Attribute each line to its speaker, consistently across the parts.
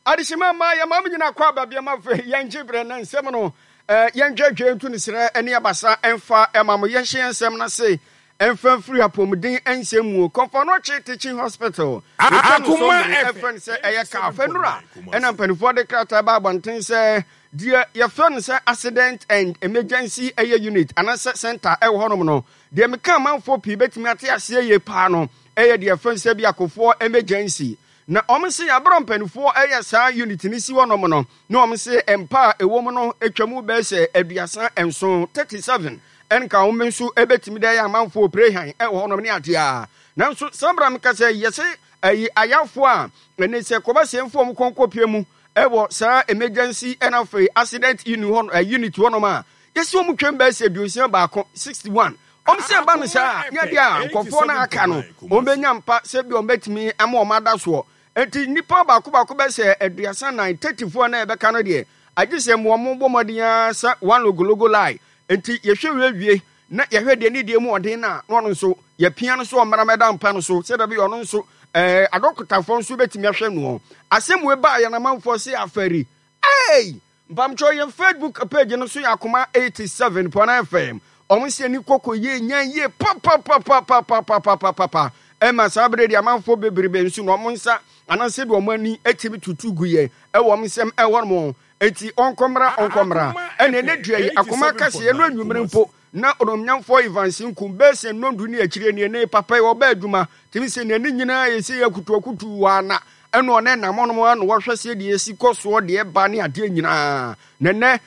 Speaker 1: Adehyema mma yɛma mo nyina kɔ aba biam afei yɛngye berɛ na nsɛm no yɛndwɛdwɛ ntu ne serɛ ne abasa ɛmfa ɛma mo yɛnhyɛ yɛn nsɛm no ase ɛmfa mfiri apɔmuden nsɛm mu Kɔmfɔnɔkye Teaching Hospital yɛtwa no so mmere ɛfrɛ no sɛ ɛyɛ kaa fɛnura ɛna mpanimfoɔ de krataa ba abɔnten sɛ deɛ yɛfrɛ no sɛ accident and emergency ɛyɛ unit anaasɛ center ɛwɔ hɔnom no deɛ meka amanfoɔ pii bɛtumi ate aseɛ yie paa no ɛyɛ deɛ yɛfrɛ no sɛ bi akofoɔ emergency Na wɔn se aberɛ mpaninfoɔ ɛyɛ saa unit no si hɔ nom no, na wɔn se mpa a ɛwɔ mu no atwa mu bɛyɛ sɛ 37, 37, ɛnka wɔn nso ɛbɛtumi de ayɛ amanfoɔ oprehan ɛwɔ hɔ nom ne adeɛ a. Nanso saa berɛ a meka sɛ yɛse ayi ayafoɔ a ɛne sɛ kɔba sɛ mfa wɔn kɔn kɔpie mu ɛwɔ saa emergency ɛna afei accident unit hɔ, unit hɔ nom a, yɛse wɔn twam bɛyɛ sɛ 61, 61. Wɔn sɛ ɛba no saa a, nyɛ deɛ a nkurɔfoɔ no a aka no wɔbɛnya mpa sɛ bi wɔbɛtumi ama wɔn ada soɔ. Enti nnipa baako baako bɛyɛ sɛ 34, 34 na ɛbɛka no deɛ, agye sɛ wɔn bɔ mmɔden ara sɛ one logologo lie. Enti yɛhwɛ wie wie na yɛhwɛ deɛ ne deɛ mu ɔden no a, na ɔno nso yɛpia no so ɔmmra mmɛda mpa no so sɛdeɛ ɛbɛyɛ ɔno nso ɛɛ adɔkotafoɔ nso bɛtumi ahwɛ noɔ. Asɛm wei baa yɛn amanfoɔ se afɛri. Ei! Mpamkyɛw yɛn Facebook page no so yɛ Akoma 87 pɔn FM. Wɔn sɛ ani kɔkɔ yie nyan yie papapapapapapapapa. Ɛma saa bere de amanfoɔ bebrebe nso na wɔn nsa anaasɛ de wɔn ani atumi tutu gu yɛn ɛwɔ wɔn nsɛm ɛwɔ nom. Eti ɔnkɔmmra ɔnkɔmmra. Ɛna ɛnɛ dua yi Akoma kaseɛ no anwummere mpo Na Onuonyamfoɔ Evans nkum bɛyɛ sɛ nnɔndu ne akyire nie ne papa yi ɔba adwuma tumi sɛ n'ani nyinaa yɛ sɛ yɛ akutuakutu waa na ɛna ɔne nam ɔnom ano wɔhwɛ sɛ deɛ ɛsi kɔ soɔ deɛ ɛba ne adeɛ nyinaa na nnɛ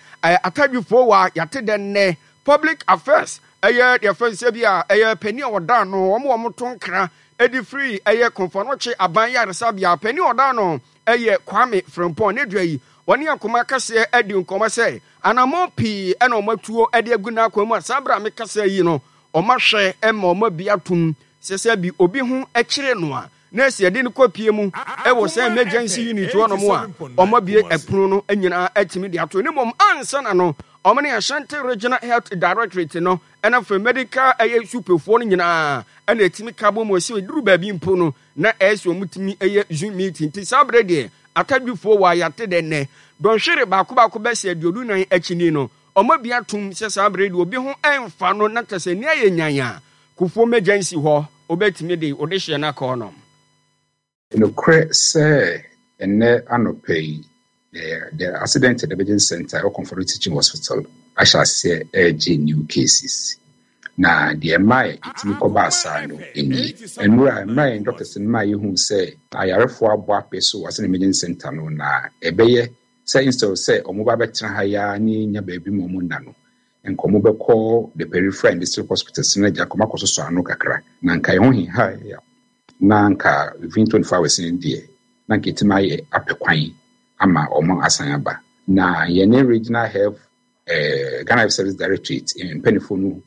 Speaker 1: atadwifoɔ wa yɛate dɛ nnɛ public affairs ɛyɛ deɛ fɛn sɛ bi a ɛyɛ panin a ɔda ano wɔn wɔn to nkra ɛde firi ɛyɛ Kɔmfoanɔkye aban yaresabea panin a ɔda ano ɛyɛ Kwame Frimpong ne dua yi wɔne akoma kɛseɛ adi nkɔmɔ sɛ Anammɔn pii na wɔatuo de agu n'akwan mu a saa berɛ a mekasa yi no, wɔahwɛ ma wɔabi atom sɛ sɛ bi obi ho kyere no a, na ɛsɛ yɛde no kɔpie mu wɔ sɛ emergency unit hɔnom a wɔabue ɛpono no nyinaa atumi de ato. Ne mmom ansa na no, wɔn ne Ashanti Regional Health Directorate no ɛna afei medical ɛyɛ supefoɔ no nyinaa ɛna ɛtumi ka bɔ mu ɛsɛ ɛduru baabi mpo no na ɛyɛ sɛ wɔtumi yɛ Zoom meeting. Nti saa berɛ deɛ Atadwifoɔ wɔ ayate dɛ nnɛ. Dɔnhwere baako baako bɛsɛ 24 akyi ni no, wɔabue atom sɛ saa berɛ yi deɛ obi ho mfa no na kyerɛ sɛ nni ayɛ nyan a, Kufuor Emergency hɔ wobɛtumi de wo dehyeɛ no akɔ hɔnom.
Speaker 2: Nokorɛ sɛ ɛnnɛ anɔpa yi, the Accident and Emergency Centre ɛwɔ Komfo Teaching Hospital ahyɛ aseɛ ɛregye new cases. Na deɛ ɛma ɛtumi kɔbaa saa no nie. Nnora, mmerɛ a yɛn doctors no maa yɛhuu sɛ ayarefoɔ abɔ apee so wɔ Accident and Emergency Centre no, na ɛbɛyɛ sɛ instead of sɛ wɔba abɛtena ha yi ara ne yɛnya baabi ma wɔn nna no, nka wɔbɛkɔ the peripheral and district hospitals no agya nka wɔakɔsosɔ ano kakra. Na nka ɛho hehae na nka within 24 hours no deɛ, na nka yɛtumi ayɛ apɛ kwan ama wɔn asan aba. Na yɛne Regional Health eh, Ghana Health Service Directorate mpanimfoɔ no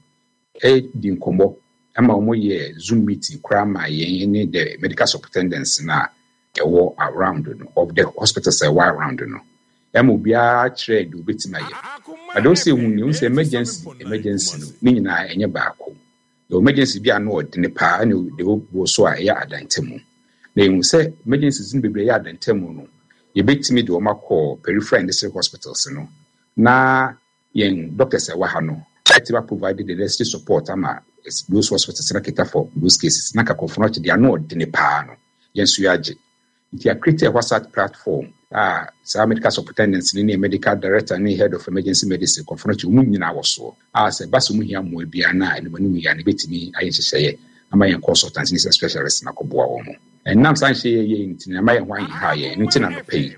Speaker 2: di nkɔmmɔ ma wɔyɛ Zoom meeting koraa ma yɛn ne the medical superintendents no a ɛwɔ around no, of the hospitals a ɛwɔ around no. Ɛma obiara kyerɛɛ deɛ obetumi ayɛ. But deɛ ɔsɛ ehu ni, ehu sɛ emergency, emergency no, ne nyinaa ɛnyɛ baako. Yɛwɔ emergency bi a ano ɔdene paa ɛna deɛ ɔwɔ so a ɛyɛ adantamu. Na ehu sɛ emergencies no bebree ɛyɛ adantamu no, yɛbɛtumi de wɔn akɔ peripheral and district hospitals no na yɛn doctors a ɛwɔ ha no atumi a provide the necessary support ama those hospitals na cater for those cases. Na nka Kɔmfo no akyi deɛ ano ɔdene paa no, yɛn nso yɛagye. Nti yɛ create a WhatsApp platform a saa medical superintendents no ne medical director ne head of emergency medicine Kɔmfo no akyi wɔn nyinaa wɔ soɔ a sɛ ɛba sɛ wɔn hia mmoa biara no a anim anim yi a no yɛbɛtumi ayɛ nhyehyɛeɛ ama yɛn consultants ne specialists no akɔboa wɔn. Ɛnam saa nhyehyɛeɛ a yɛyɛeɛ nti no ama yɛn ho aheha yɛn. Ɛno nti na anɔpa yi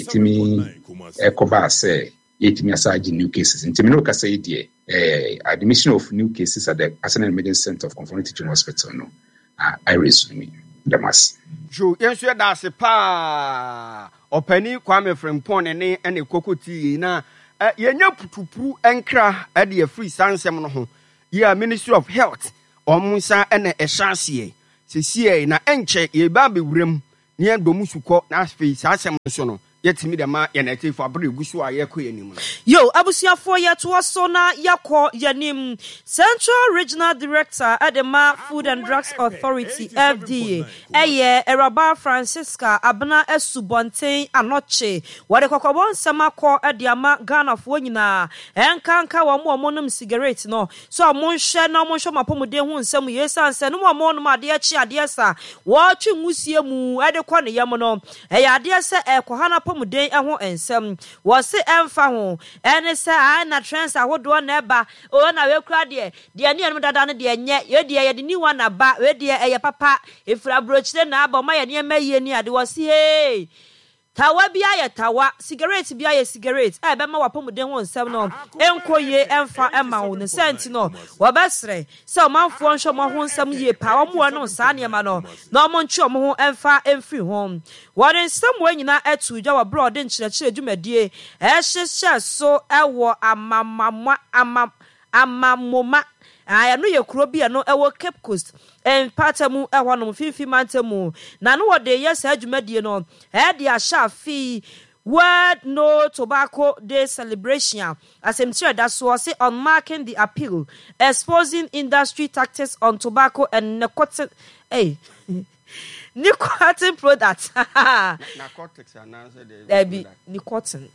Speaker 2: yɛtumi kɔbaa sɛ yɛtumi asa agye new cases. Nti me ne wo kasa yi deɛ, eh, admission of new cases at the Accident and Emergency Center of Komfo Teaching Hospital no, I resume. Meda mo ase.
Speaker 1: Joe, yɛn nso yɛda ase paa. Ɔpanin Kwame Frimpong ne ne ɛna ɛkɔkɔ tie yei na yɛnya putupuru nkra de afiri saa nsɛm no ho. Yi a Ministry of Health wɔn nsa na ɛhyɛ aseɛ sesiei na ɛnkyɛ yɛba abɛwura mu na yɛdɔ mu sukɔ na afei saa asɛm no so no. Yɛtumi de ma yɛn atiefo bere a egu so a yɛrekɔ yɛn anim no.
Speaker 3: Yo, abusuafoɔ yɛtoa so na yɛakɔ yɛn anim. Central Regional Director de ma Food and Drugs Authority, FDA, yɛ Awuraba Francisca Abena Asubɔnten Anokye. Wɔde kɔkɔbɔ nsɛm akɔ de ama Ghanafoɔ nyinaa, ɛnkanka wɔn a wɔnom sigaret no, sɛ wɔnhwɛ na wɔnhwɛ wɔn apɔmuden ho nsɛm yie esiane sɛ nom a wɔnom adeɛ kye adeɛ sa, wɔtwe nwusie mu de kɔ ne yam no, ɛyɛ adeɛ sɛ ɛrekɔha n'apɔmuden ho nsɛm. Wɔse ɛmfa ho ne sɛ ae na trends ahodoɔ na ɛba, oh na wei koraa deɛ, deɛ ne yɛnom dada no deɛ ɛnyɛ, wei deɛ yɛde new one aba, wei deɛ ɛyɛ papa, ɛfiri aburokyire na aba, wɔayɛ nneɛma yie ne ade, wɔse hey! Tawa biara yɛ tawa, sigaret biara yɛ sigaret a ɛbɛma w'apɔmuden ho nsɛm no nkɔ yie mfa mma wo. Ne saa nti no, wɔbɛsrɛ sɛ ɔmanfoɔ nhwɛ wɔn ho nsɛm yie paa, wɔn a wɔnom saa nneɛma no, na wɔntwe wɔn ho mfa mfiri ho. Wɔde nsɛm wei nyinaa too dwa wɔ berɛ a wɔde nkyerɛkyerɛ dwumadie rehyehyɛ so wɔ Amamamwa, Ama, Amamoma, a ɛno yɛ kuro bi a ɛno ɛwɔ Cape Coast mpatamu ɛhɔnom, Mfimfini Mantam mu, na no wɔde reyɛ saa dwumadie no de ahyɛ afe yi World No Tobacco Day Celebration a asɛmtiri a ɛda soɔ se Unmarking the Appeal, Exposing Industry Tactics on Tobacco and Nicotine, ei, Nicotine Products.
Speaker 1: Narcotics anaasɛ deɛ?
Speaker 3: Dabi, nicotine.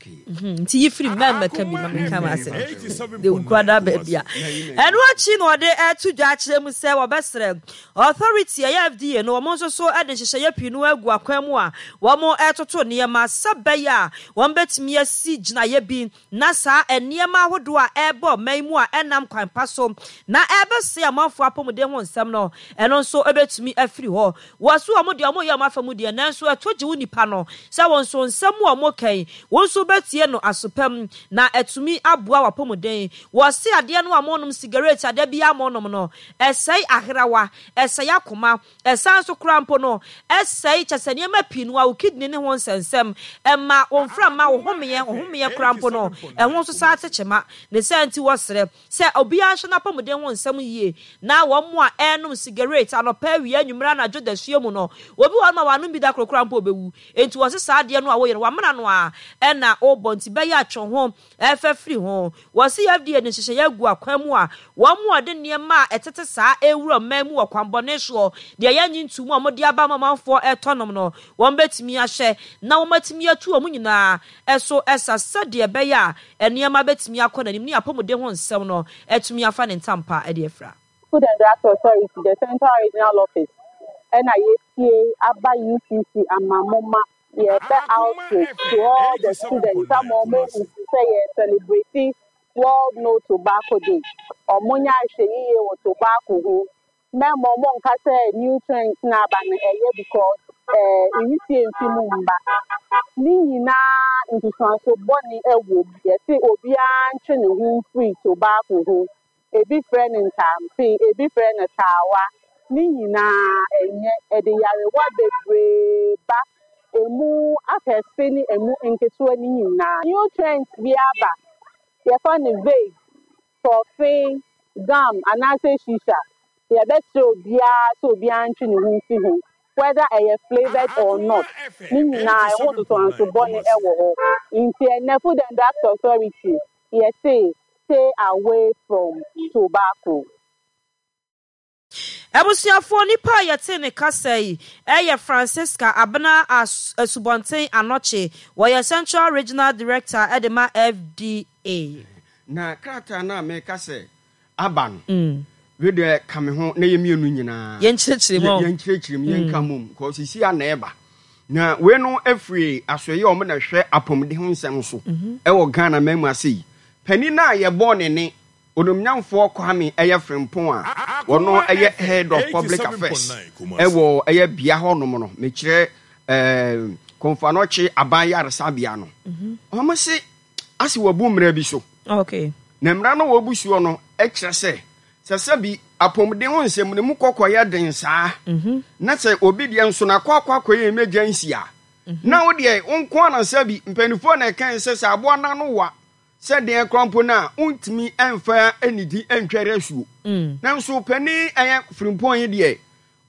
Speaker 3: Mhm, nti yi firi mma mmɛka bi ma menka m'asɛm de nkurada baabi a ɛno akyi na ɔde ɛto dwa akyerɛ mu sɛ wɔbɛsrɛ authority ɛyɛ FDA no wɔn nso so de nhyehyɛeɛ pii no agu akwan mu a wɔn ɛtoto nneɛma sɛ bɛyɛ a wɔn bɛtumi asi gyinaeɛ bi na saa nneɛma ahodoɔ a ɛrebɔ ɔman mu a ɛnnam kwan pa so na ɛrebɛsɛe amanfoɔ apɔmuden ho nsɛm no, ɛno nso bɛtumi afiri hɔ. Wɔ so wɔn deɛ wɔyɛ wɔn afa mu deɛ, nanso ɛto gye wo nipa no sɛ wo nso nsɛm a wɔka yi, wo nso wobɛtie no aso pa mu na atumi aboa w'apɔmuden. Wɔse adeɛ no a monom, sigaret a da biara monom no, ɛsɛe aherawa, ɛsɛe akoma, Ɛsan nso koraa mpo no, ɛsɛe, kyerɛ sɛ nneɛma pii no ara, wo kidney ne ho nsɛnsɛm, ɛma wo mframa, wo homeɛ, wo homeɛ koraa mpo no, ɛho nso san te kyema. Ne saa nti wɔsrɛ sɛ obiara nhwɛ n'apɔmuden ho nsɛm yie, na wɔn a ɛrenom sigaret anɔpa, awia, anwummere, anadwo, dasuo mu no, obi wɔ hɔnom a wanom bi da koro koraa mpo ɔbɛwu. Enti wɔse saa adeɛ no a woyɛ no, wamena no ara na wobɔ, nti bɛyɛ a twe wo ho Ɛfa firi ho. Wɔse FDA de nhyehyɛeɛ agu akwan mu a wɔn a wɔde nneɛma a ɛtete saa rewura ɔman mu wɔ kwanbɔne soɔ, deɛ yɛnnye nto mu a wɔde aba ama ɔmanfoɔ retɔ nom no, wɔbɛtumi ahwɛ na wɔatumi atu wɔn nyinaa so sa sɛdeɛ ɛbɛyɛ a nneɛma bɛtumi akɔ n'anim ne apɔmuden ho nsɛm no atumi afa ne ntampa de afira.
Speaker 4: Food and Drugs Authority, the Central Regional Office, ɛna yɛapue aba UCC ama moma yɛbɛ outreach to all the students ama wɔn ahu sɛ yɛ celebrate World No Tobacco Day. Wɔn nyɛ ahwɛyiye wɔ tobacco ho. Mɛma wɔn nka sɛ new trends na aba no ɛyɛ because ɛɛ nwisie mfi mu mba. Ne nyinaa nsusuanso bɔne ɛwɔ mu. Yɛse obiara ntwe ne ho mfiri tobacco ho. Ebi frɛ no ntampe, ebi frɛ no taawa. Ne nyinaa ɛnyɛ. Ɛde nyarewa bebree ba, emu akɛse ne emu nketewa no nyinaa. Nutrient bi aba, yɛfa no vape, tɔfe, gum anaasɛ shisha. Yɛbɛsrɛ obiara sɛ obiara ntwe ne ho mfi ho, whether ɛyɛ flavoured or not, ne nyinaa ɛho ntotoanso bɔne wɔ hɔ. Nti ɛnnɛ Food and Drugs Authority yɛse stay away from tobacco.
Speaker 3: Abusuafoɔ, nipa a yɛtee ne kasa yi yɛ Francisca Abena Asubɔnten Anokye. Wɔyɛ Central Regional Director de ma FDA.
Speaker 1: Na krataa no a meka sɛ aba no, wei deɛ ka me ho na yɛ mmienu nyinaa
Speaker 3: Yɛnkyerɛkyerɛ mu.
Speaker 1: Yɛnkyerɛkyerɛ mu, yɛnka mmom, kɔ sisi a na ɛba. Na wei no afiri asoɛeɛ a wɔn na ɛhwɛ apɔmuden ho nsɛm so ɛwɔ Ghana man mu ase yi. Panin no a yɛbɔɔ ne ne Onumnyamfoɔ Kwame ɛyɛ Frimpong a wɔno ɛyɛ Head of Public Affairs ɛwɔ ɛyɛ bea hɔ nom no, mekyerɛ ɛɛ Komfo Anokye Aban Yaresabea no. Wɔn se ase wɔabu mmara bi so.
Speaker 3: Okay.
Speaker 1: Na mmara no wɔbu soɔ no kyerɛ sɛ sɛ sɛbi apɔmuden ho nsɛm no mu kɔkɔ yɛ den saa na sɛ obi deɛ nso na akɔ akɔ akɔyɛ emergency a na wo deɛ wo nko ara na sɛbi mpanimfoɔ na ɛka sɛ sɛ aboa no ano wa sɛ deɛ koraa mpo no a wontumi mfa anidi ntwɛre asuo. Nanso panin ɛyɛ Frimpong yi deɛ.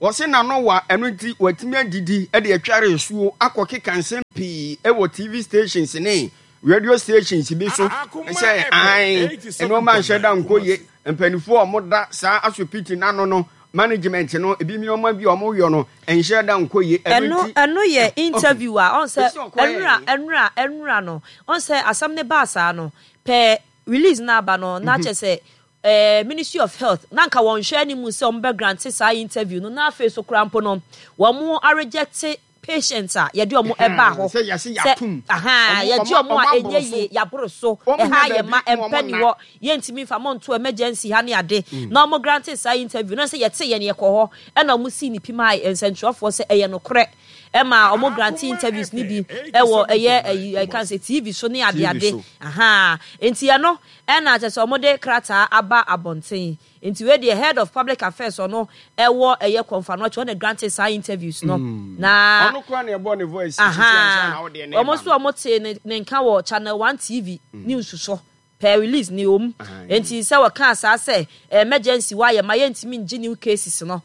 Speaker 1: Wɔse n'ano wa, ɛno nti watumi adidi de atware asuo akɔkeka nsɛm pii wɔ TV stations ne radio stations bi so sɛ ae, nneɛma nhyɛ da nkɔ yie. Mpanimfoɔ a wɔda saa asopiti no ano no, management no, ebi nneɛma bi a wɔyɔ no nhyɛ da nkɔ yie. Ɛno
Speaker 3: Ɛno
Speaker 1: nti,
Speaker 3: ɛno yɛ interview a ɔn sɛ
Speaker 1: ɛsi ɔkɔyɛ
Speaker 3: ɛnura
Speaker 1: yi.
Speaker 3: ɛnura ɛnura no ɔn sɛ asɛm no baa saa no pɛ release no aba no na kyerɛ sɛ eh, Ministry of Health na nka wɔn hwɛ anim sɛ wɔn bɛ grante saa interview no na afei so koraa mpo no wɔn arejecte patient a yɛde wɔn ɛbaa hɔ
Speaker 1: Sɛ yɛse
Speaker 3: sɛ
Speaker 1: yɛatom.
Speaker 3: ahaa
Speaker 1: Wɔn
Speaker 3: yɛgye
Speaker 1: wɔn
Speaker 3: wɔn a
Speaker 1: wɔn
Speaker 3: ɛnyɛ
Speaker 1: aboro so.
Speaker 3: yie yɛaboro so
Speaker 1: Wɔn
Speaker 3: ɛha
Speaker 1: nya
Speaker 3: yɛ
Speaker 1: baabi
Speaker 3: ma
Speaker 1: na wɔn
Speaker 3: ɛmpɛ ni
Speaker 1: nna.
Speaker 3: hɔ yɛntumi nfa mo nto emergency ha ne ade na wɔn grante saa interview na sɛ yɛte yɛn yɛkɔ hɔ ɛna wɔn sii ne pim a nsɛntwerɛfoɔ sɛ ɛyɛ nokorɛ ɛma wɔn grante interviews ne bi ɛwɔ ɛyɛ ɛyi ɛka sɛ TV so ne ade
Speaker 1: TV
Speaker 3: ade
Speaker 1: so.
Speaker 3: ahaa nti ɛno ɛna kyerɛ sɛ wɔde krataa aba abɔnten. Nti wei deɛ head of public affairs ɔno ɛwɔ ɛyɛ kɔnfanoakyi ɔno na grante saa interviews no na
Speaker 1: Ɔno koraa na ɛbɔ ne voice sisi ansa na
Speaker 3: ahaa
Speaker 1: wodeɛ ne
Speaker 3: wɔn
Speaker 1: ba
Speaker 3: nso
Speaker 1: no.
Speaker 3: wɔn tee ne ne nka wɔ channel one TV news so per release ne wɔm nti sɛ wɔkaa saa sɛ emergency wɔ ayɛ ma yɛntumi ngye new cases no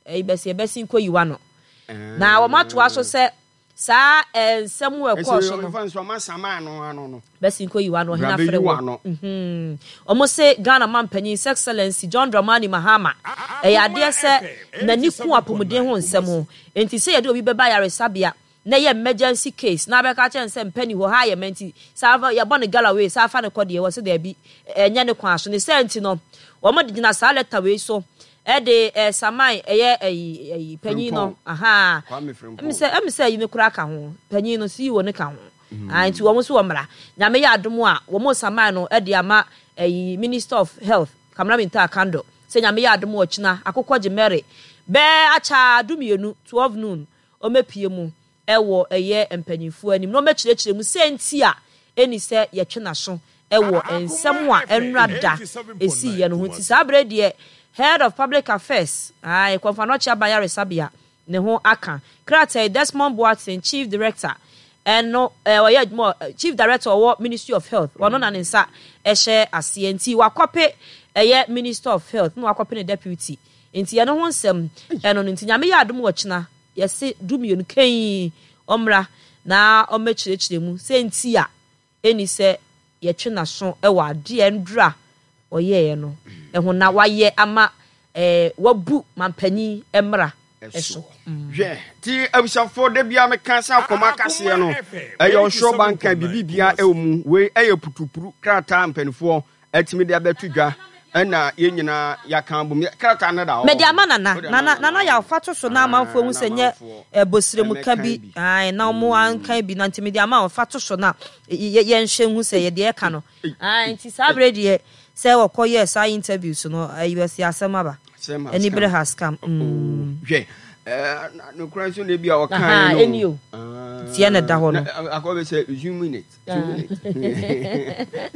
Speaker 3: ɛyi bɛsi ɛbɛsi nkɔ yiwa no na wɔn atoa so sɛ Saa nsɛm a ɛkɔɔ so no. Bɛsi nkɔ yiwa no ɔhene afrɛ wɔ. Wɔn se Ghana manpanyin His Excellency John Dramani Mahama ɛyɛ adeɛ sɛ n'ani ku apɔmuden ho nsɛm ho. Enti sɛ yɛde obi bɛba ayaresabea na ɛyɛ emergency case na abɛka akyerɛ no sɛ mpɛ ni hɔ ha ayɛ ma nti saa yɛbɔ no galloway saa fa no kɔ deɛ wɔse daabi ɛnyɛ ne kwan so. Ne saa nti no wɔn de gyina saa letter wei so Ɛde eh, Saman ɛyɛ ɛyi ɛyi panyin no ahaa ɛmi sɛ ɛmi sɛ ɛyi no koraa ka ho panyin no CEO no ka ho ah nti wɔn nso wɔ mmara nyame yɛ adom a wɔn Saman no ɛde ama ɛyi Minister of Health Kamara Minta Akandor sɛ nyame yɛ adom a ɔkyina akokɔ gye Mary bɛɛ akyaa dumienu 12 noon ɔmɛpie mu wɔ ɛyɛ mpanyimfoɔ anim na wɔbɛkyerɛkyerɛ mu sɛ nti a ɛnni sɛ yɛtwe n'aso wɔ nsɛm a ɛnnora da ɛsiiɛ no ho. Nti saa berɛ yi deɛ Head of Public Affairs, ae, Kɔmfo-Anokye Aban Ayaresabea ne ho aka. Krataa yi, Desmond Boateng, Chief Director, ɛno, ɔyɛ adwuma wɔ, Chief Director ɔwɔ Ministry of Health, ɔno na ne nsa hyɛ aseɛ. Nti wakɔpe ɛyɛ Minister of Health na wakɔpe ne Deputy. Nti ɛno ho nsɛm ɛno no. Nti Nyame yɛ adom ɔkyena Yɛse dumienu kann ɔmmra na ɔmmɛkyerɛkyerɛ mu sɛ nti a ɛnni sɛ yɛtwe n'aso wɔ adeɛ a nnura ɔyɛeɛ no ho na wayɛ ama wabu mampanyin mmara so.
Speaker 1: Hwɛ, ti abusuafoɔ da biara meka sɛ akɔma kaseɛ no ɛyɛ ɔsoro banka biribi biara ɛwɔ mu wei ɛyɛ putupuru krataa mpanimfoɔ atumi de abɛto dwa ɛna yɛn nyinaa yɛaka abom. Krataa no da hɔ.
Speaker 3: Mede ama Nana. Nana, Nana Yaw, fa to so na amanfoɔ ahu sɛ nyɛ bosrɛmuka bi, ae, na wɔn anka bi, na nti mede ama wo, fa to so na yɛnhwɛ nhu sɛ yɛ deɛ ɛka no. Ae, nti saa berɛ deɛ sɛ wɔkɔ yɛɛ saa interviews no, ayi wɔsi asɛm aba. Anibere has come. Mm.
Speaker 1: Hwɛ, nokora nso na ebi a ɔka yɛ no.
Speaker 3: Ɛni o. Tiɛ na ɛda hɔ no.
Speaker 1: Akɔ bɛ sɛ zoom in it.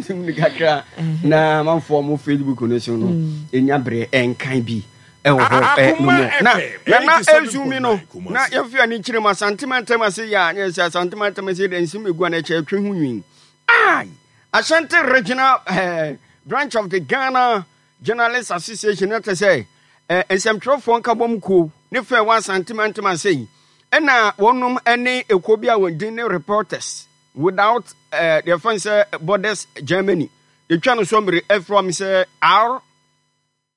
Speaker 1: Zoom kakra na amanfoɔ mo Facebook no so no ɛnya berɛ ɛnkan bi ɛwɔ hɔ ɛ no mu na na na ɛzumi no na yɛmfi ani kyerɛ mu Asante mantam ase yɛ a nyɛ sɛ Asante mantam ase dɛ nsɛm egu a na ɛkyɛ ɛtwe ho nwin ai Ashanti Regional eh, branch of the Ghana Journalists Association na kyɛ sɛ eh, nsɛmtwerɛfoɔ nkabom kuo ne fɛ wɔ Asante mantam ase yi ɛna wɔnom ne ekuo bi a wɔn din ne Reporters Without eh, deɛ fɛn sɛ Borders Germany yɛtwa no so mmere ɛfrɛ wɔn sɛ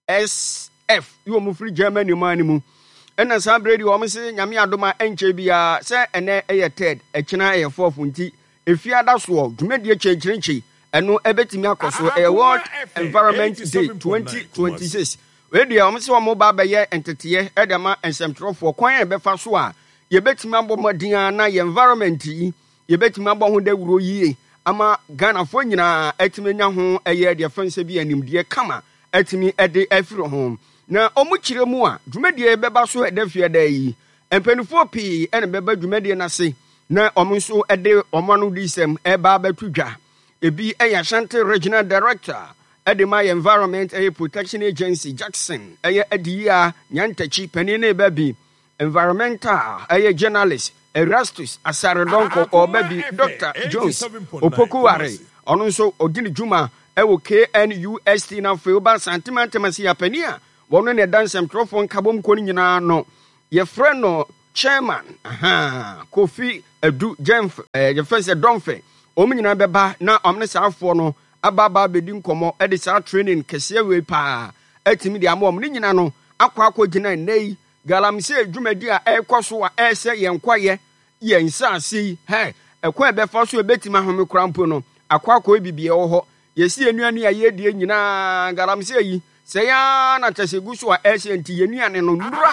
Speaker 1: RSF yi wɔn firi Germany man no mu ɛna saa berɛ deɛ wɔn se nyame adom a ɛnkyɛ biara sɛ ɛnɛ ɛyɛ third ɛkyena ɛyɛ fourth nti efiada soɔ dwumadie kyɛnkyerɛnkyɛ ɛno ɛbɛtumi akɔ so ɛyɛ World Environment Day 2026 wei deɛ wɔn sɛ wɔn ba abɛyɛ nteteɛ ɛde ama nsɛmtwerɛfoɔ kwan a ɛbɛfa so a yɛbɛtumi abɔ mmɔden a na yɛn environment yi yɛbɛtumi abɔ ho dawuro yie ama Ghanafoɔ nyinaa atumi anya ho ɛyɛ deɛ fɛn sɛ bi animdeɛ kama atumi de afiri ho. Na wɔn kyerɛ mu a, dwumadie bɛba so ɛda fiada yi. Mpanimfoɔ pii na bɛba dwumadie no ase na wɔn nso de wɔn ano disɛm ɛreba abɛto dwa. Ebi yɛ Ashanti Regional Director de ma yɛ Environment ɛyɛ Protection Agency Jackson ɛyɛ Adiyia Nyantakyi panin no reba bi. Environmental ɛyɛ journalist Erastus Asare Donkor ɔreba bi, Doctor Jones Opoku Ware ɔno nso ɔdi ne dwuma ɛwɔ KNUST na afei woba Asante Mantam ase a panin a wɔno na ɛda nsɛmtwerɛfoɔ nkabom kuo no nyinaa ano. Yɛfrɛ no Chairman, ahaa, Kofi Adu Gyamfi, ɛɛ, yɛfrɛ no sɛ Domfe. Wɔn nyinaa bɛba na wɔn ne saa afoɔ no aba aba abɛdi nkɔmmɔ de saa training kɛseɛ wei paa atumi de ama wɔn. Ne nyina no akɔ akɔgyina nnɛ yi galamsey dwumadi a ɛrekɔ so a ɛresɛ yɛn kwaeɛ, yɛn nsaase yi, hɛ, ɛkwan a ɛbɛfa so a ɛbɛtumi ahome koraa mpo no, akɔ akɔyɛ biribi ɛwɔ hɔ. Yɛsi yɛn nnuane a yɛredie nyinaa galamsey yi, sɛe ara na kyerɛ sɛ ɛgu so a ɛresɛ nti yɛn nnuane no, nnuro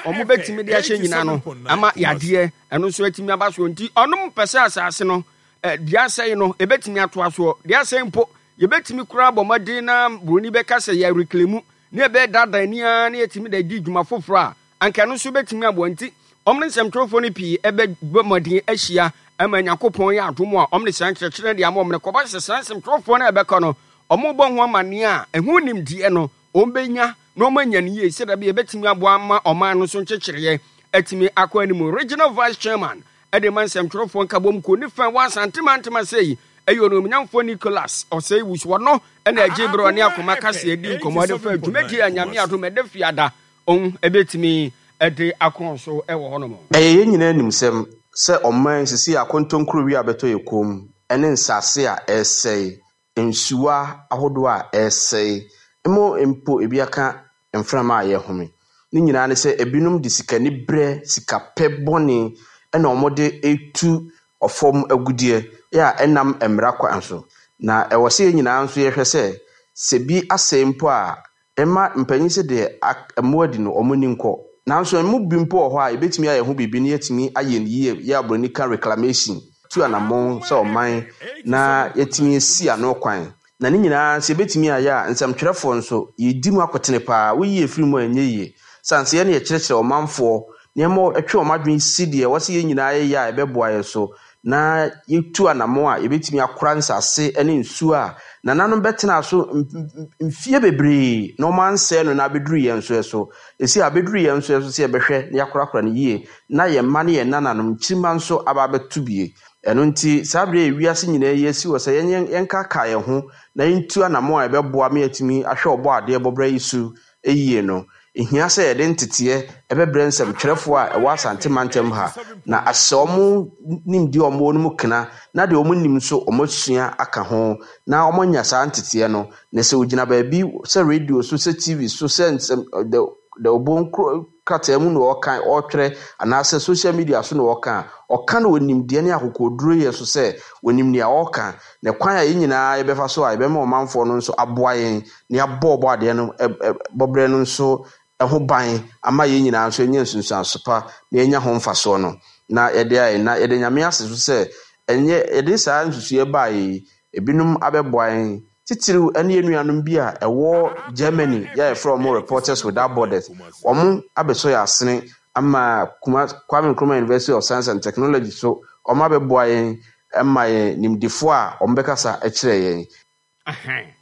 Speaker 1: a wɔbɛtumi de ahyɛ nyinaa no ama yadeɛ ɛno nso atumi aba soɔ nti ɔnom pɛ sɛ asase no deɛ asɛe no ɛbɛtumi atoa soɔ deɛ asɛe mpo yɛbɛtumi koraa bɔ mmɔden na buroni bɛka sɛ yɛ reclaimu ne ɛbɛdaadaa ani ara na yɛtumi de adi dwuma foforɔ a anka ɛno nso bɛtumi aboa nti wɔn ne nsɛmtwerɛfoɔ no pii bɛbɔ mmɔden ahyia ama Nyankopɔn yɛ adom a wɔn de saa nkyerɛkyerɛ de ama wɔn no kɔba sɛ saa nsɛmtwerɛfoɔ no a ɛbɛkɔ no wɔbɔ ho amanneɛ a ɛho nimdeɛ no wɔn bɛnya na wɔn anya no yie sɛdeɛ ɛbɛyɛ ɛbɛtumi aboa ama ɔman no so nkyekyereɛ atumi akɔ anim. Regional Vice Chairman de ma nsɛmtwerɛfoɔ nkabom kuo ne fɛ wɔ Asante mantam ase yi ɛyɛ Onuonyamfoɔ Nicholas Osei Wusu. Ɔno na ɛgye berɛ ɔne Akoma Kaseɛ di nkɔmmɔ de fa dwumadie a Nyame adom ɛda Fiada ɔn ɛbɛtumi de akɔ so wɔ hɔnom.
Speaker 5: Ɛyɛ yɛn nyinaa animsɛm sɛ ɔman seesei akontonkurowi a abɛtɔ yɛn kɔn mu ne nsase a ɛresɛe, nsuwa ahodoɔ a ɛresɛe, ma mpo ebi aka mframa a yɛhome. Ne nyinaa ne sɛ ebinom de sikaniberɛ, sikapɛ bɔne na wɔde retu ɔfam agudeɛ a ɛnnam mmara kwan so. Na ɛwɔ sɛ yɛn nyinaa nso yɛhwɛ sɛ, sɛ bi asɛe mpo a, mma mpanin sɛ deɛ mmoa di no, wɔn ani nkɔ. Nanso ɛmu bi mpo wɔ hɔ a, yɛbɛtumi ayɛ ho biribi na yɛatumi ayɛ no yie, yɛ a buroni ka reclamation, tu anammɔn sɛ ɔman na yɛatumi asi ano kwan. Na ne nyinaa sɛ yɛbɛtumi ayɛ a, nsɛmtwerɛfoɔ nso, yɛdi mu akotene pa ara. Woyi yɛn firi mu a, ɛnyɛ yie. Sane sɛ yɛn na yɛkyerɛkyerɛ ɔmanfoɔ nneɛma, ɛtwe wɔn adwene si deɛ ɛwɔ sɛ yɛn nyinaa yɛyɛ a ɛbɛboa yɛn so, na yɛtu anammɔn a yɛbɛtumi akora nsase ne nsuo a nananom bɛtenaa so mfeɛ bebree na wɔansɛe no na abɛduru yɛn nso so. Ɛsi abɛduru yɛn nso so sɛ yɛbɛhwɛ na yɛakorakora no yie na yɛn mma ne yɛn nananom nkyirimma nso aba abɛto bie. Ɛno nti, saa berɛ a wiase nyinaa yi asi hɔ sɛ yɛn yɛnkaakae yɛn ho na yɛntu anammɔn a ɛbɛboa ma yɛatumi ahwɛ Ɔbɔadeɛ bɔberɛ yi so yie no, ɛhia sɛ yɛde nteteɛ bɛbrɛ nsɛmtwerɛfoɔ a ɛwɔ Asante mantam ha na ahyɛ wɔn nimdeɛ a wɔwɔ no mu kena na deɛ wɔnnim nso wɔasua aka ho na wɔanya saa nteteɛ no. Na sɛ wɔgyina baabi sɛ radio so, sɛ TV so, sɛ nsɛm the the obon krataa mu na ɔrekan, ɔretwerɛ anaasɛ social media so na ɔreka a, ɔka no wɔ nimdeɛ ne akokoɔduroyɛ so sɛ ɔnim nea ɔreka. Na kwan a yɛn nyinaa yɛbɛfa so a yɛbɛma ɔmanfoɔ no nso aboa yɛn na yɛabɔ Ɔbɔadeɛ no bɔberɛ no nso ho ban ama yɛn nyinaa nso anya nsunsuanso pa na yɛanya ho mfasoɔ no, na yɛde ayɛ. Na yɛda Nyame ase nso sɛ ɛnyɛ yɛde saa nsusuiɛ baeɛ yi, ebinom abɛboa yɛn, titiriw ne yɛn nuanom bi a ɛwɔ Germany yɛ a yɛfrɛ wɔn Reporters Without Borders. Wɔn abɛsɔ yɛn asene ama Kuma, Kwame Nkrumah University of Science and Technology so wɔn abɛboa yɛn ma yɛn nimdefoɔ a wɔbɛkasa kyerɛ yɛn.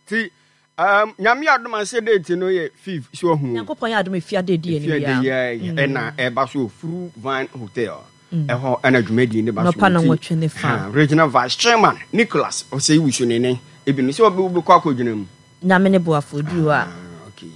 Speaker 1: Ti um, nyame adom ase date no yɛ fifth so ahu.
Speaker 3: Nyankopɔn yɛ adom efia de di anim
Speaker 1: ya. Efia de ɛna ɛba so Furu Vine Hotel. Ɛhɔ ɛna dwumadie ne ba so.
Speaker 3: Nɔpa na nwɔtwe ne fa.
Speaker 1: Regional Vice Chairman Nicholas Osei Wusu ne ne ebi no sɛ ɔbɛkɔ akɔgyina mu.
Speaker 3: Nyame ne boafo oduru hɔ a. Okay.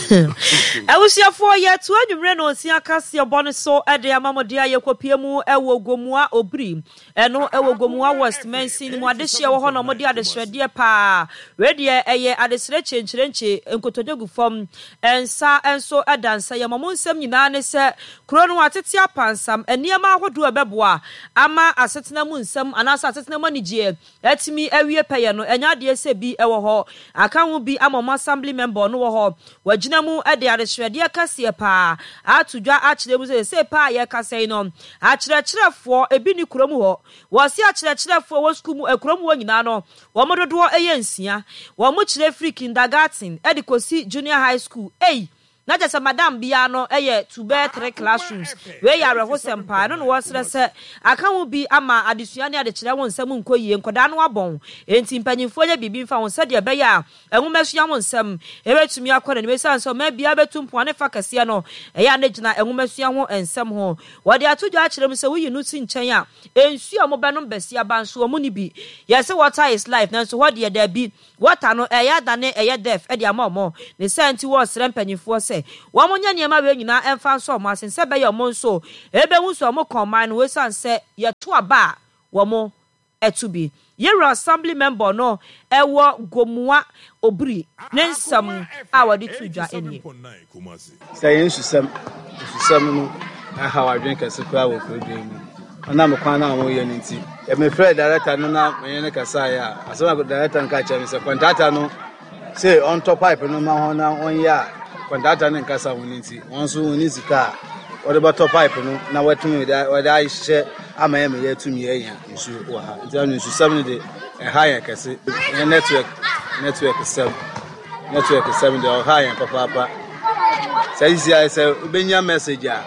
Speaker 3: Abusuafoɔ yɛto anwummerɛ na ɔnsia kaseɛ bɔ no so de ama mo deɛ yɛkɔpie mu wɔ Gomoa Obiri ɛno wɔ Gomoa West mansin no mu adehyeɛ wɔ hɔ na wɔde adesrɛdeɛ paa wei deɛ ɛyɛ adesrɛ kyenkyerenkye nkotodwe gu fam nsa nso da nsa yam wɔn nsɛm nyinaa ne sɛ kuro no atete apansam nneɛma ahodoɔ ɛbɛboa ama asetena mu nsɛm anaasɛ asetena mu anigyeɛ atumi awie pɛyɛ no, ɛnyɛ adeɛ sɛ bi wɔ hɔ aka ho bi ama wɔn assembly member ɔno wɔ hɔ. Wagyina mu de adehyerɛdeɛ kɛseɛ paa ato dwa akyerɛ mu sɛ seesei paa a yɛrekasa yi no, akyerɛkyerɛfoɔ ebi nni kurom hɔ. Wɔse akyerɛkyerɛfoɔ wɔ sukuu mu kurom hɔ nyinaa no, wɔn dodoɔ yɛ nsia. Wɔkyerɛ firi kindergarten de kɔsi junior high school. Ei! Na kyerɛ sɛ madam biara no yɛ to bɛyɛ tre classrooms. Wei yɛ awerɛhosɛm paa. Ɛno na wɔsrɛ sɛ aka ho bi ama adesua ne adekyerɛ ho nsɛm nkɔ yie. Nkwadaa no abɔn, enti mpanyimfoɔ nyɛ biribi mfa ho sɛdeɛ ɛbɛyɛ a nwomasua ho nsɛm bɛtumi akɔ n'anim. Esiane sɛ ɔman biara bɛtu mpɔn a ne fa kɛseɛ no ɛyɛ a na ɛgyina nwomasua ho nsɛm ho. Wɔde ato dwa akyerɛ mu sɛ woyi no si nkyɛn a, nsuo a wɔbɛnom bɛsi aba nso wɔn nni bi. Yɛse water is life nanso hɔ deɛ daabi. Water no ɛyɛ adane ɛyɛ death de ama wɔn. Ne saa nti wɔresrɛ mpanyimfoɔ sɛ. sɛ wɔn nyɛ nneɛma wei nyinaa ɛmfa nsɔ wɔn asen sɛ ɛbɛyɛ wɔn nso ɛbɛhu sɛ wɔn ka ɔman no ho ɛsiane sɛ yɛto aba a wɔn to bi. Yɛwura Assembly member no ɛwɔ Gomoa Obiri ne nsɛm a wɔde too dwa nie.
Speaker 6: Sɛ yɛn nsusɛm, nsusɛm no haw adwene kɛse koraa wɔ kurodua yi mu. Ɔnam kwan no a wɔyɛ no nti. Mefrɛɛ director no na menye no kasaeɛ a, asɛm a director no ka kyerɛ me sɛ kɔntrata no se ɔntɔ pipe no ma hɔn na ɔnyɛ a kɔntrata no nkasa ho no nti, wɔn nso wɔnni sika a wɔde bɛtɔ pipe no na wɔatumi wɔde ahyehyɛ ama yɛn ma yɛatumi anya nsuo wɔ ha. Nti ɛno nsusɛm no de ɛha yɛn kɛse. Yɛn network network sɛm. Network sɛm deɛ ɔha yɛn papaapa. Sɛ sisi ayɛ sɛ wobɛnya message a,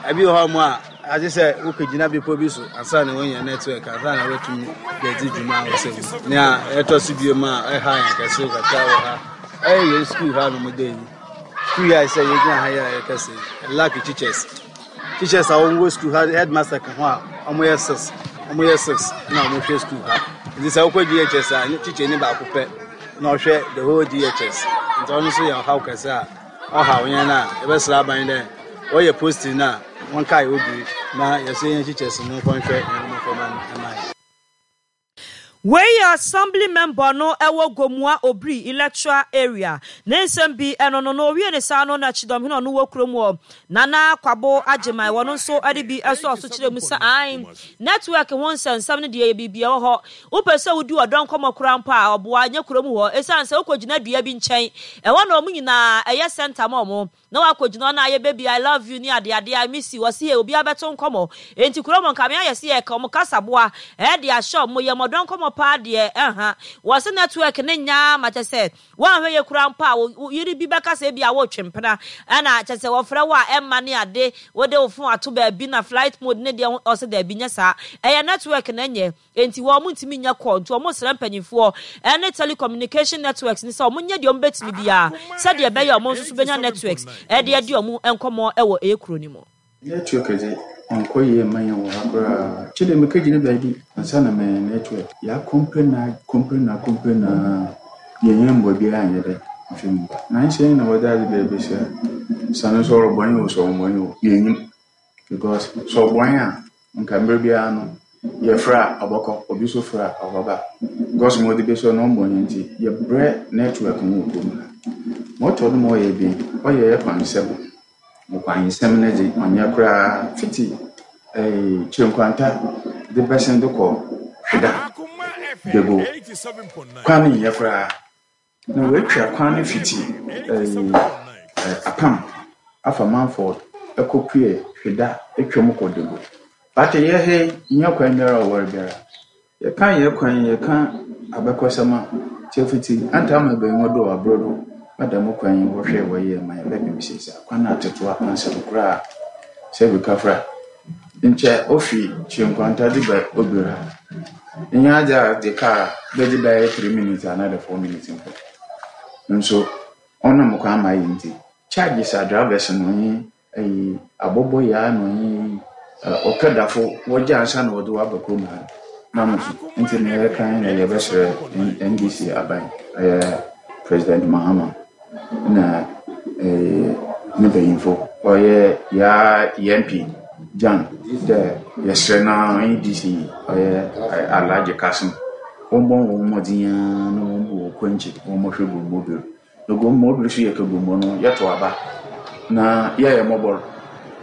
Speaker 6: ebi wɔ hɔ mo a agye sɛ wokɔgyina bepɔ bi so ansa na woanya network ansa na woatumi de adi dwuma a wosɛ mu. Nea ɛtɔ so bio ma ɛha yɛn kɛse kakra wɔ ha ɛyɛ yɛn sukuu ha nom dɛ yi. Sukuu yi a sɛ yɛgyina ha yi a yɛkɛse lack teachers. Teachers a wɔwɔ sukuu ha headmaster ka ho a wɔyɛ six wɔyɛ six na wɔhwɛ sukuu ha. Nti sɛ wokɔ GHS a teacher ni baako pɛ. na ɔhwɛ the whole GHS nti ɔno nso yɛ ɔhaw kɛse a ɔhaw yɛn a yɛbɛsrɛ aban dɛ wɔyɛ posting no a wɔnkae obiri na yɛso yɛn teachers no nkɔnhwɛ yɛn mmɔframma no mma yɛn.
Speaker 3: Wei yɛ Assembly member no ɛwɔ Gomoa Obiri Electoral Area ne nsɛm bi ɛno no na ɔwie ne saa no na Kyidɔmhene ɔno wɔ kurom hɔ Nana Kwabo Agyeman wɔno nso ɛde bi ɛsɔɔ so kyerɛ mu sɛ ae Network ho nsɛnsɛm no deɛ ɛyɛ biribi ɛwɔ hɔ. Wopɛ sɛ wodi ɔdɔ nkɔmmɔ koraa mpo a, ɔboa, nyɛ kurom hɔ. Ɛsiane sɛ wokɔgyina dua bi nkyɛn, ɛhɔ na wɔn nyinaa, ɛyɛ center ma wɔn, na woakɔgyina hɔ na ayɛ baby I love you ne adeade, I miss you, wɔse yei, obiara bɛto nkɔmmɔ. Enti kurom hɔ nka me ayɛ sɛ yɛreka wɔn kasaboa de ahyɛ wɔn yam, ɔdɔ nkɔmmɔ paa deɛ, ɛnha. Wɔse network no nyɛ ara ma kyerɛ sɛ Woanhwɛ yie koraa mpo a, wo yere bi bɛka sɛ ebia woretwe mpena, ɛna kyerɛ sɛ wɔfrɛ wo a ɛmma ne ade, wode wo fon ato baabi na flight mode ne deɛ, ɔse daabi nyɛ saa, ɛyɛ network na ɛnyɛ, enti wɔn ntumi nyɛ call, nti wɔn resrɛ mpanyinfoɔ ɛne telecommunication networks no sɛ wɔn nyɛ deɛ wɔn bɛtumi biara sɛdeɛ ɛbɛyɛ a wɔn nso so bɛnya networks ɛde adi wɔn nkɔmmɔ ɛwɔ ɛyɛ kuro no mu.
Speaker 7: Network dze, ɔnnkɔ yie mma hɛn wɔ ha koraa. Kyerɛ dɛ mekegyina beebi ansaana menya network. Yɛakɔmpleni akɔmpleni akɔmpleni ara, yennnya mboa biara annyɛ dɛn ammfi mu ba. Naaso hɛn na wɔdze adze ba ebesia. Sɛ no so ɔrobɔ hɛn o, sɛ ɔmmbɔ hɛn o, yennyim. Because sɛ ɔbɔ hɛn a, nka mber biara no yɛfrɛ a ɔbɔkɔ, obi so frɛ a ɔbɛba. Because ma wɔdze besia no ɔmmbɔ hɛn ntsi, yɛbrɛ network ho wɔ kurom ha. Ma ɔtɔ do ma ɔyɛ ebien, ɔyɛ hɛn kwansɛm. Ɔkwansɛm no dze, ɔnnyɛ koraa. Fitsi Kyirenkwanta dze bɛsen do kɔ Hweda, Dago, kwan no nnyɛ koraa. Na woetwa kwan no fitsi Apam afa Manford ekopue Hweda etwa mu kɔ Dago. But yɛ ha yi, nnyɛ kwan biara a ɔwar biara. Yɛka yɛn kwan yi, yɛka abakɔsɛm a, nkyɛ fitsi antaama ebɛnwa do aber do na dɛm kwan yi wɔhwɛe wɔyɛe ma yɛbɛpem sesei a, kwan no atsetse apansam koraa. Sɛ bi kafra, nkyɛ ofi Kyenkwanta dze ba Obir ha, nnyɛ adze a edze kaar a ebɛgye bɛyɛ three minutes anaadɛ four minutes mpo. Nso ɔnam kwan ma ayɛ ntsi, charges a drivers no nye Eyi abɔbɔyaa na ɔnye ɔkɛdafo wɔgye ansa na wɔdze wo aba kurom ha no na so ntsi na yɛreka nye dɛ yɛbɛserɛ NDC aban ɔyɛ President Mahama na ne mpanyimfo ɔyɛ yaa MP Jan dɛ yɛserɛ no ara ɔnye DC ɔyɛ Alhaji Kassim wɔmbɔ hɔn mbɔdzen ara na wɔmbu hɔn kwankyir wɔmbɔhwɛ Gomobile. Na Gomoa so yɛka Gomoa no, yɛtow aba na yɛyɛ mbɔbɔr.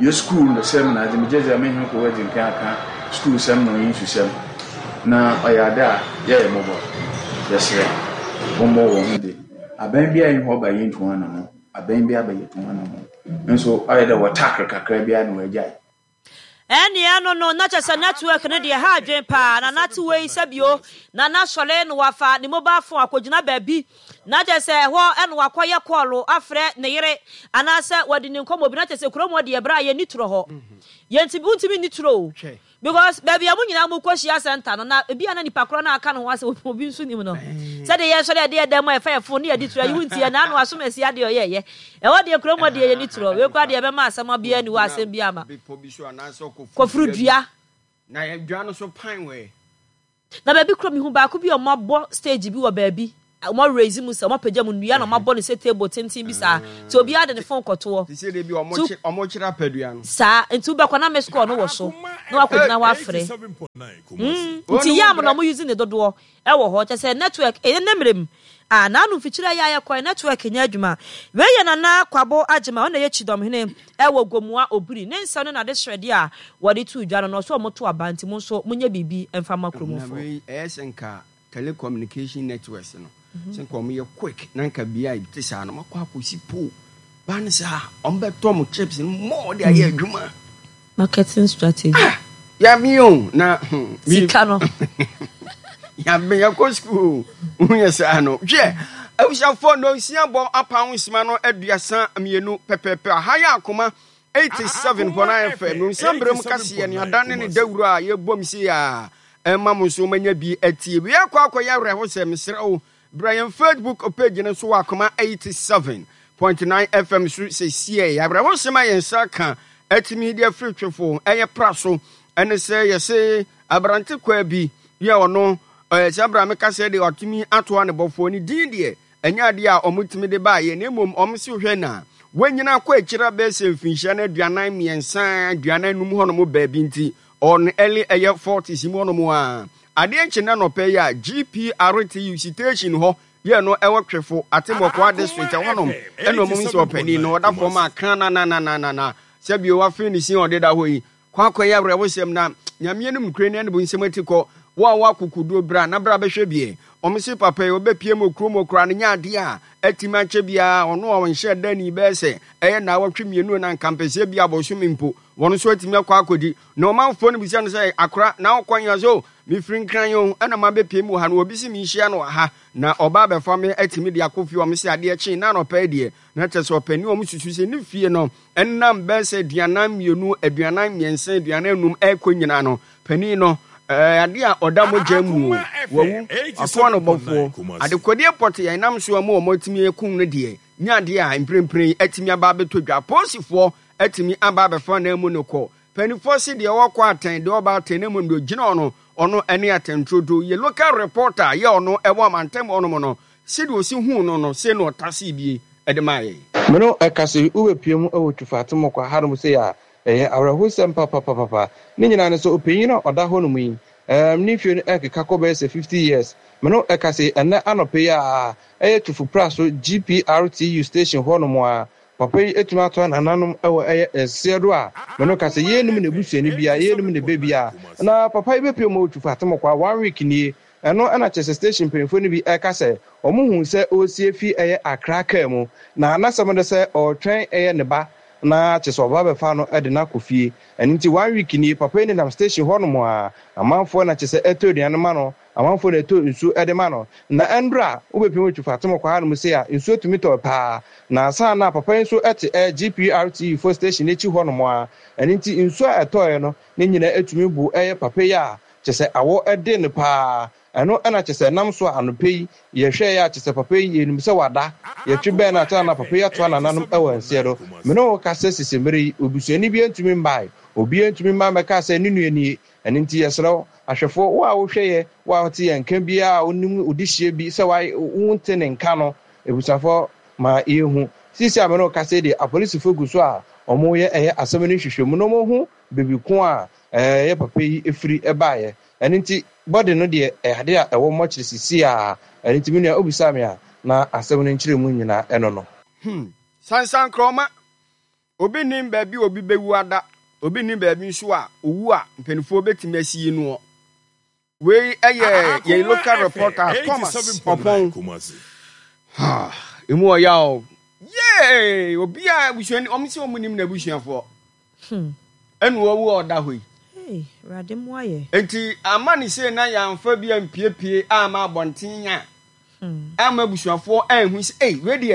Speaker 7: Yɛ skuul no sɛm na adze, megye dzi dɛ menye hɔn edzi nkan akã skuulsɛm na ɔnye nsusɛm, na ɔyɛ ade a yɛyɛ mbɔbɔr. Yɛserɛ, wɔmbɔ hɔnho dze. Aban biara nnyi hɔ a ɔba yentu hɔn anamɔn, aban biara ba yetu hɔn anamɔn. Nso ɔyɛ dɛ wɔtakr kakra bi ara na woegyae.
Speaker 3: Ɛnneɛ no no na kyɛ sɛ network no deɛ ɛha adwene paa na nate wei sɛbio na na sɔre na wafa ne mobile phone akɔgyina baabi na kyɛ sɛ ɛhɔ na wakɔyɛ kɔɔlo afrɛ ne yere anaasɛ wadi ne nkɔmmɔ bi na kyɛ sɛ kurom hɔ deɛ berɛ a yɛnni torɔ hɔ yɛntumi wontumi nni torɔ o Because baabi a mo nyinaa mo kɔ hyia center no na ebi a na nipa korɔ no aka ne ho asɛ obi nso nim no. Sɛdeɛ yɛn sɔre yɛde yɛ dan mu a yɛfa yɛ phone ne yɛde tura yi wo nti yɛ naano asom asi adeɛ ɔyɛ yɛ. Ɛhɔ deɛ kurom hɔ deɛ yɛni torɔ. Wei koraa deɛ ɛbɛma asɛm abia ni hɔ asɛm bi ama. Kɔforo dua.
Speaker 1: Na dua no so pan wɛ.
Speaker 3: Na baabi koro mehu baako bi a wɔabɔ stage bi wɔ baabi. Wɔn raise mu sɛ wɔn apagya mu nnua na wɔn abɔ no sɛ table tenten bi saa. Nti obiara de ne phone kɔtoɔ.
Speaker 1: Te sɛ deɛ bi wɔn wɔn kyerɛ apadua no.
Speaker 3: Saa nti wobɛkɔ na miss call no wɔ so na wakɔgyina hɔ afrɛ. Nti yam na wɔn use ne dodoɔ ɛwɔ hɔ kyɛ sɛ network ɛyɛ ne mmerɛ mu. Ah naanu mfikyire ayɛ ayɛ kɔɛ network nyɛ adwuma. Wei yɛ Nana Kwabo Agyemang ɔno na ɛyɛ Kyidɔmhene ɛwɔ Gomoa Obiri. Ne nsɛm ne n'adesrɛdeɛ a wɔde too dwa no na ɔsɛ wɔn to aba nti mo nso monyɛ biribi mfa mma
Speaker 1: kurom
Speaker 3: foɔ.
Speaker 1: Na wei ɛyɛ sɛ nka telecommunication networks no sɛ nka wɔn yɛ quick na nka bia a te saa no wɔn akɔ akɔsi pole ba no saa wɔn bɛtɔ mo chips no more de ayɛ adwuma.
Speaker 3: Marketing strategy.
Speaker 1: Ah, yabe o na hmm,
Speaker 3: sika no.
Speaker 1: Yabe yɛkɔ school o woyɛ saa no hwɛ abusuafoɔ nonsia bɔ apan nsima no 32 pɛpɛpɛ aha yɛ akoma 87.9 FM no nsa mmerɛ mu kaseɛ ne ada ne ne dawuro a yɛbom sei a ɛma mo nso manya bi atie. Wei akɔ akɔyɛ awerɛhosɛm, mesrɛ wo bra yɛn Facebook page no so wɔ Akoma 87.9 FM so sɛsiɛ. Awerɛhosɛm a yɛn nsa ka atumi de afiri twefo ɛyɛ pra so ɛne sɛ yɛse aberante kwaa bi yɛ ɔno ɛɛ sɛ abra meka sɛ deɛ watumi atoa ne bɔfoɔ ne din deɛ Ɛnyɛ adeɛ a wɔtumi de baeɛ, na mmom wɔse wohwɛ no a, wanyini akɔ akyiri abɛyɛ sɛ mfinhyia no 43, 45 hɔnom baabi nti, ɔwɔ no early ɛyɛ forties mu hɔnom a. Adeɛ nkye nnɛ anɔpa yi a, GPRTU sitation hɔ yɛ no ɛwɔ Twefo, Atemɔkoa District ɛhɔnom ɛna wɔn sɛ ɔpanin no ɔda fam a krananananana sɛbio wafee ne sin a ɔde da hɔ yi. Kɔ akɔyɛ awerɛhosɛm na Nyame anim nokorɛ ni ɛne bonsam ati kɔ. Wo a wowɔ akokoduo bra na bra bɛhwɛ bie. Wɔn se papa yi ɔbɛpie mu kurom hɔ koraa no nyɛ adeɛ a atimi akyɛ biara ɔno a ɔnhyɛɛ da nii bɛyɛ sɛ ɛyɛ naawɔtwe mmienu na nka mpɛsɛ bi abosome mpo wɔn nso atumi akɔ akɔdi na ɔmanfoɔ no bisa no sɛ akora na wokɔ he ɔse o mefiri Nkran o ɛna mabɛpie mu wɔ ha no obi se menhyia no wɔ ha na ɔba abɛfa me atumi de akɔ fie wɔn se adeɛ kyee na anɔpa yi deɛ na kyerɛ sɛ ɔpanin wɔn susu sɛ ne fie no Ɛnam bɛyɛ sɛ 42, 43, 45 rekɔ nyinaa no, panin no, ɛɛ, adeɛ a ɔda mogya mu o, wawu, wakoa no bɔfoɔ. Adekodeɛ pɔtee a ɛnam so ama wɔatumi akum no deɛ, nyɛ adeɛ a mprempren atumi aba abɛtɔ dwa. Apolisifoɔ atumi aba abɛfa ananmu no kɔ. Mpanimfoɔ se deɛ ɔkɔ atɛn, deɛ ɔba atɛn, na mmom deɛ ɔgyina hɔ no, ɔno ne atɛnturodo. Yɛ local reporter a yɛ ɔno ɛwɔ amantam hɔnom no, Sɛdeɛ ɔsi huu no no, sei na ɔtasee bie de maa yɛn.
Speaker 5: Me no ɛka se wobɛpue mu wɔ Twufo Atemokwa hanom sei a, ɛyɛ awerɛhosɛm papapapapa. Ne nyinaa ne sɛ ɔpanyin a ɔda hɔnom yi, ɛɛm, ne mfie no ɛrekeka kɔ bɛyɛ sɛ 50 years. Me no ɛka se ɛnnɛ anɔpa yi a, ɛyɛ Twufo Praso GPRTU station hɔnom a, papa yi atumi atoa nananom wɔ ɛyɛ nseɛ do a, me no ka sɛ yɛnnim n'abusuani biara, yɛnnim ne ba biara. Na papa yi bɛpue mu wɔ Twufo Atemokwa one week nie, Ɛno na kyerɛ sɛ station mpanyimfoɔ no bi reka sɛ wɔhuu sɛ ɔresie fi ɛyɛ Accra kaa mu na n'asɛm ne sɛ ɔretwɛn ɛyɛ ne ba na kyerɛ sɛ ɔba bɛfa no de no akɔ fie. Ɛno nti one week nie papa yi nenam station hɔ nom a amanfoɔ na kyerɛ sɛ ɛtɔ aduane ma no, amanfoɔ na ɛtɔ nsuo de ma no. Na ɛndora wobɛpem wɔ Twifo Atem kɔ ha nom sei a nsuo tumi tɔ paa na ansa na papa yi nso te ɛyɛ GPRTU foɔ station no akyi hɔ nom a ɛno nti nsuo a ɛtɔeɛ no ne nyinaa tumi bu ɛyɛ papa yi a Kyerɛ sɛ awɔ de no paa. Ɛno na kyerɛ sɛ ɛnam so a anɔpa yi yɛhwɛeɛ a kyerɛ sɛ papa yi yɛnim sɛ wada. Yɛtwe bɛn no a kyerɛ na papa yi atoa nananom wɔ nseɛ do. Me ne wo kasa sisi mmerɛ yi obusuani biara ntumi mmae. Obiara ntumi mma mmɛkaa sɛ ne nua nie. Ɛno nti yɛsrɛ wo, ahwɛfoɔ, wo a wohwɛ yɛ, wo a wote yɛn nka biara a wonim odehyeɛ bi sɛ wonte ne nka no, abusuafoɔ ma yɛnhu. Seesei a me ne wo kasa yi deɛ apolisifoɔ gu so a wɔreyɛ ɛyɛ asɛm no nhwehwɛmu na wɔahu baabi ko a ɛyɛ papa yi firi baeɛ. Ɛno nti body no deɛ ɛyɛ adeɛ a ɛwɔ mɔkyere seesei ara. Ɛno nti me nua wobisaa me a, na asɛm no nkyerɛmu nyinaa ɛno no.
Speaker 1: Hmm. Sansankrɔma. Obi nnim baabi a obi bɛwu ada. Obi nnim baabi nso a owu a mpanimfoɔ bɛtumi asie noɔ. Wei yɛ yɛn local reporter Thomas Ɔpɔn. Emu ɔya o. Yee! Obi a abusuani, wɔn sɛ wɔn nim n'abusuafoɔ. Hmm. Ɛna wɔwu a ɔda hɔ yi.
Speaker 3: Hey, Awurade mmoa yɛ.
Speaker 1: Nti ama ne sei na yɛamfa bi ampiepie ama abɔnten a. Hmm. Ama abusuafoɔ anhu sɛ, ei, wei deɛ.